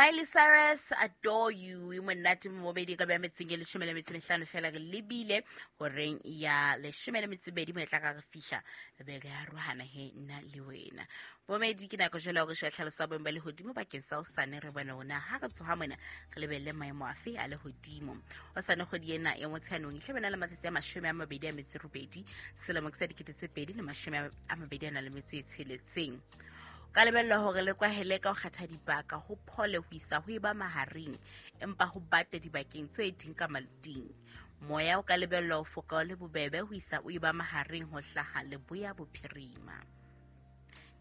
Miley Cyrus, Adore You, e monate momedi ka bja metseng e 15 fela re lebile horeng ya 12 mo e tla ka re fihla be re arohana he nna le wena. Bomedi ke nako jalo ya gore sheba tlhaloso ya boemo ba lehodimo bakeng sa hosane re bone hore na ha re tsoha mona re lebelele maemo afe a lehodimo. Hosane kgwedi ena ya Motsheanong e tla be na le matsatsi a 28 selemo ke sa 2026. Ka lebellwa hore le kwahele ka ho kgetha dibaka ho phole ho isa ho eba mahareng empa ho bate dibakeng tse ding ka maluting. Moya o ka lebellwa ho foka o le bobebe ho isa o eba mahareng ho hlaha leboya bophirima.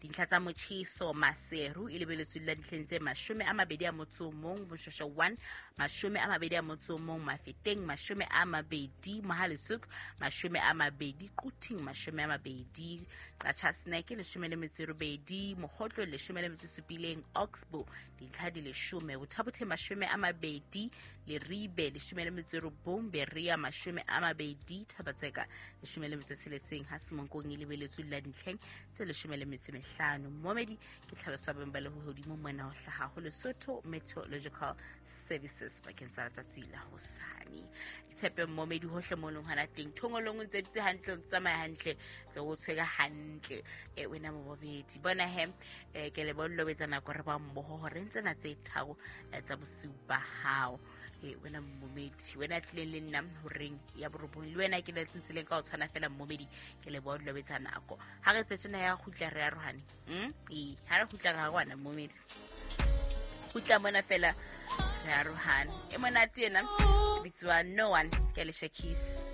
Dintlha tsa motjheso Maseru e lebeletswe la dintlheng tse 21, Boshosho 1 21, Mafeteng 20, Mohale'shoek 20, Quthing 20, Qacha's Nek 18, Mokgotlo 17, Oxbow dintlha di 10, Botha-Bothe 20, Leribe 19, Berea 20, Thaba-Tseka 16, ha Semonkong e lebeletswe la dintlheng tse 15. Momedi ke tlhaloso ya boemo ba lehodimo mona ho hlaha ho Lesotho Meteorological Services bakeng sa letsatsi la hosane. Tshepe momedi hohle mo leng hona teng, thongolong o ntse dutse hantle, o tsamaya hantle, tse o tshwere hantle. E wena mobobedi bona he, ke le bollo betsa nako re ba mmoho hore ntsena tse tharo tsa bosiu ba hao. E wena momedi, wena tlileng le nna horeng ya 9 le wena ke le tsentseng ka o tshwana fela momedi, ke le bollo betsa nako. Ha re tsetse na ya kgutla re arohane. Ee, ha re kgutla re arohana momedi. Kgutla mona fela re arohane. E monate ena e bitsiwa No One ke Alicia Keys.